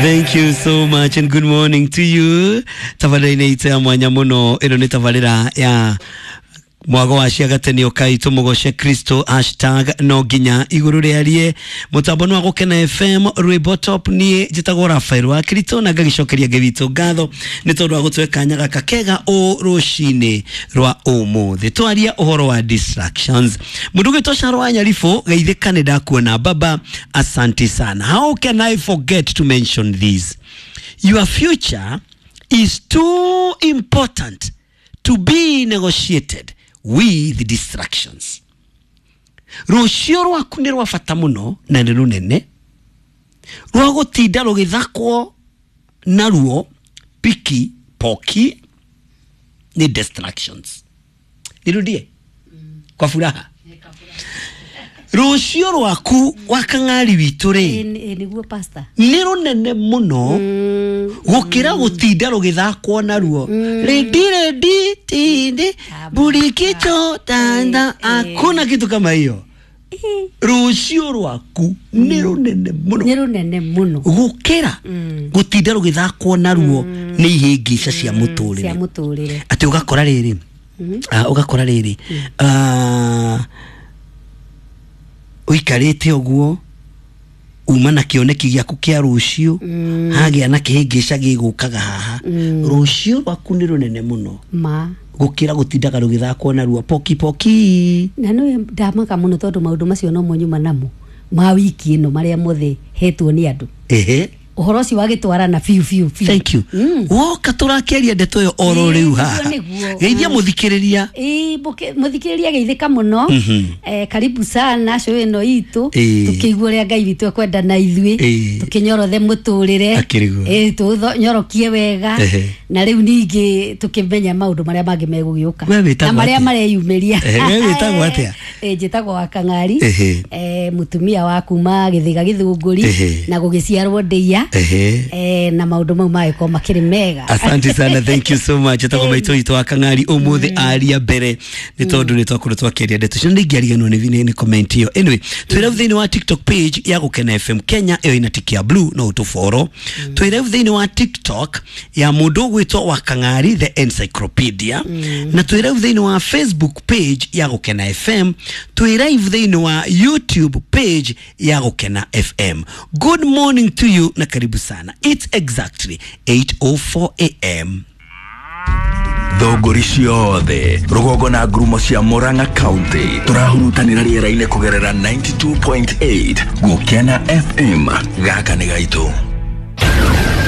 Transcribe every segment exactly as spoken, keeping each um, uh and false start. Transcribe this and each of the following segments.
Thank you so much and good morning to you. Tabarĩra-inĩ itũ ya mwanya mũno ĩno nĩ tabarĩra ya mwago wa ciagateni ũkai tũmũgoce Kristo hashtag no nginya igũrũ rĩarie mũtambo nĩ wa Gũkena F M rwĩmbo top. Niĩ njĩtagwo Rafael wa Kristo na ngagĩcokeria Ngai witũ ngatho nĩ tondũ wa gũtũhe kanya gaka kega ũ rũcinĩ rwa ũmũthĩ. Twaria ũhoro wa distractions. Mũndũ ũgwĩtwo Sharo wa Nyaribũ geithĩka nĩ ndakuona baba, asante sana. How can I forget to mention this? Your future is too important to be negotiated with distractions. Rũciũ rwaku nĩ rwa bata mũno na nĩ rũnene rwa gũtinda rũgĩthakwo naruo piki poki nĩ distractions. Nirudie kwa furaha. Rũciũ rwaku wa kang'ari witũ rĩ nĩguo pastor nĩ rũnene mũno gũkĩra gũtinda rũgĩthakwo naruo rĩndi rĩndi tindi burikicho tanda, hakuna kitu kama hiyo. Rũciũ rwaku nĩ rũnene mũno nĩ rũnene mũno gũkĩra gũtinda rũgĩthakwo naruo nĩ ihĩngĩca cia mũtũrĩre cia mũtũrĩre. Atĩ ũgakora rĩrĩ ũgakora rĩrĩ ũikarĩte ũguo uma na kĩoneki gĩaku kĩa rũciũ hagĩa na kĩhĩngĩca gĩgũkaga haha. Rũciũ rwaku nĩ rũnene mũno ma gũkĩra gũtindaga rũgĩthakwo naruo poki poki. Na nĩ ndamaka mũno tondũ maũndũ macio no mo nyuma namo ma wiki ĩno marĩa mothe hetwo nĩ andũ. Ehe, ũhoro ũcio wagĩtwarana biũ biũ biũ. Thank you. Woka tũrakĩaria ndeto ĩyo oro rĩu haha. Geithia mũthikĩrĩria. Ĩĩ, mũthikĩrĩria geithĩka mũno. Eh, karibu sana show ĩno itũ tũkĩigua ũrĩa Ngai witũ ekwenda na ithuĩ tũkĩnyorothe mũtũrĩre. Ĩĩ, tũnyorokie wega na rĩu ningĩ tũkĩmenya maũndũ marĩa mangĩ megũgĩũka na marĩa mareyumĩria. We wĩtagwo atĩa? Ĩĩ, njĩtagwo wa Kang'ari, eh, mũtumia wa kuma Gĩthĩga Gĩthũngũri na gũgĩciarwo Ndĩia. Eh, na maundu mau magĩkorwo makĩrĩ mega. Asante sana, thank you so much. Etagwo maitũ witũ wa Kang'ari ũmũthĩ aria mbere nĩ tondũ nĩ twakorwo twakĩaria ndeto icio ndingĩariganĩrwo nĩ nĩ comment ĩyo. Anyway, twĩ live thĩinĩ wa TikTok page ya Gũkena F M Kenya ĩyo ĩna tiki ya blue no ũtũboro. Twĩ live thĩinĩ wa TikTok ya mũndũ ũgwĩtwo wa Kang'ari the Encyclopedia na twĩ live thĩinĩ wa Facebook page ya Gũkena F M, twĩ live thĩinĩ wa YouTube page ya Gũkena F M. Good morning to you na karibu sana. It's exactly eight oh four A M. Thũngũri ciothe rũgongo na ngurumo cia Murang'a County tũrahurutanĩra rĩera-inĩ kũgerera ninety-two point eight Gũkena F M. Gaka nĩ gaitũ.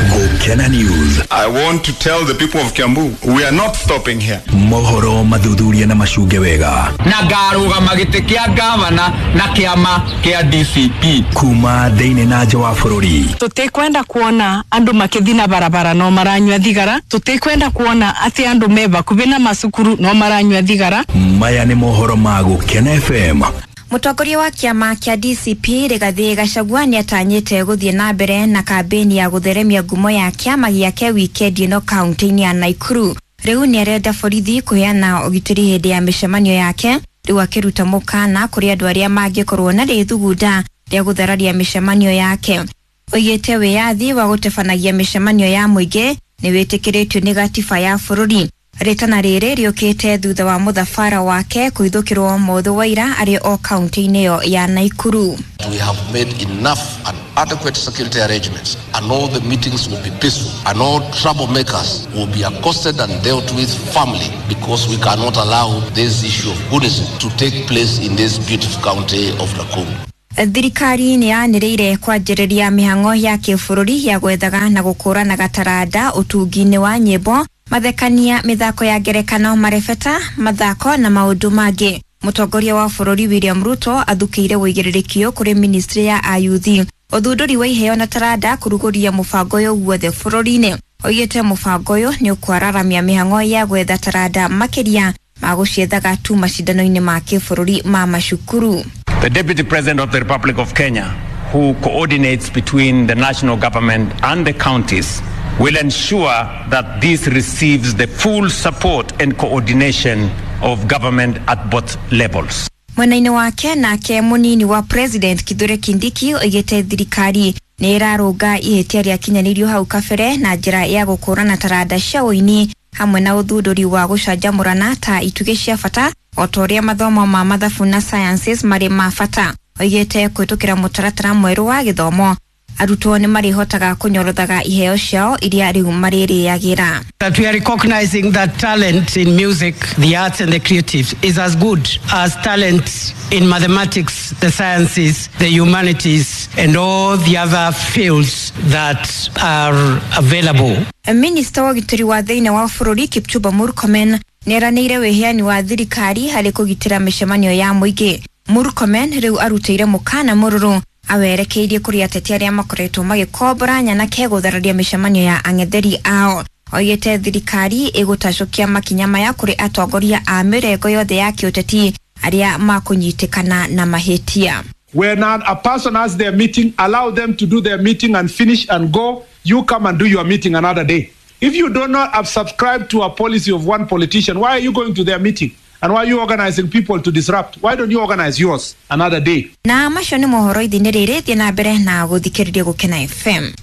Gũkena News. I want to tell the people of Kiambu, we are not stopping here. Mohoro mathuthuria na macunge wega. Na ngarũgama gĩtĩ kĩa gavana na kĩama kĩa D C P. Kuma thĩinĩ na nja wa bũrũri. Tũtikwenda kuona andũ makĩthi na barabara no maranyua thigara. Tũtikwenda kuona atĩ andũ me bakubi na macukuru no maranyua thigara. Maya nĩ mohoro ma Gũkena F M. Mũtongoria wa kĩama kĩa D C P Rigathĩ Gachagua nĩatanyĩte gũthiĩ na mbere na kambĩni ya gũtheremia ngumo ya kĩama gĩake wikendi ĩno kaunti-inĩ ya Nakuru. Rĩu nĩarenda borithi kũheana ũgitĩri hĩndĩ ya mĩcemanio yake, rĩu akĩruta mũkana kũrĩ andũ arĩa mangĩkorwo na rĩthugunda rĩa gũthararia mĩcemanio yake. Oigĩte wĩyathi wa gũtabanagia mĩcemanio ya mũingĩ nĩ wĩtĩkĩrĩtio nĩ gatiba ya bũrũri. Rĩtana rĩrĩ rĩũkĩte thutha wa mũthabara wake kũhithũkĩrwo mũthĩ wa ira arĩ o kaunti-inĩ ĩyo ya Nakuru. We have made enough and adequate security arrangements and all the meetings will be peaceful and all troublemakers will be accosted and dealt with firmly because we cannot allow this issue of Buddhism to take place in this beautiful county of Nakuru. Thirikari nĩ yanĩrĩire kwanjĩrĩria mĩhang'o ya kĩbũrũri ya gwethaga na gũkũranaga taranda ũtungi-inĩ wa nyĩmbo, mathekania, mĩthako ya ngerekano, marebeta, mathako na maũndũ mangĩ. Mũtongoria wa bũrũri William Ruto athukĩire ũigĩrĩrĩki kũrĩ ministry ya ayuthi ũthundũri wa iheo na taranda kũrugũria mũbango ũyũ guothe bũrũri-inĩ. Oigĩte mũbango ũyũ nĩ ũkwararamia mĩhang'o ya gwetha taranda makĩria ma gũciethaga tu macindano-inĩ ma kĩbũrũri ma macukuru. The Deputy President of the Republic of Kenya, who coordinates between the national government and the counties, will ensure that this receives the full support and coordination of government at both levels. Mwena-inĩ wake nake mũnini wa president Kithure Kindiki oigĩte thirikari nĩ ĩrarũnga ihĩtia rĩakinyanĩirio hau kabere na njĩra ya gũkũrana taranda cia ũini hamwe na ũthundũri wa gũcanjamũrana ta itugĩ cia bata o ta ũrĩa mathomo ma mathabu na sciences marĩ ma bata. Oigĩte kũhĩtũkĩra mũtaratara mwerũ wa gĩthomo arutwo nĩ marĩhotaga kũnyorothaga iheo ciao iria rĩu marĩrĩagĩra. That we are recognizing that talent in music, the arts and the creatives is as good as talent in mathematics, the sciences, the humanities and all the other fields that are available. Minista wa ũgitĩri wa thĩinĩ wa bũrũri Kipchumba Murkomen nĩeranĩire wĩheani wa thirikari harĩ kũgitĩra mĩcemanio ya mũingĩ. Murkomen rĩu arutĩire mũkana mũrũrũ awerekeirie kũrĩ ateti arĩa makoretwo magĩkombora nyanake gũthararia mĩcemanio ya ang'etheri ao. Oigĩte thirikari ĩgũtacũkia makinya maya kũrĩ atongoria a mĩrengo yothe ya kĩũteti arĩa makũnyitĩkana na mahĩtia. When a person has their meeting, allow them to do their meeting and finish and go. You come and do your meeting another day. If you do not have subscribed to a policy of one politician, why are you going to their meeting? And why are you organizing people to disrupt? Why don't you organize yours another day? Na macio nĩ mohoro ithini rĩrĩ, thiĩ na mbere na gũthikĩrĩria Gũkena F M.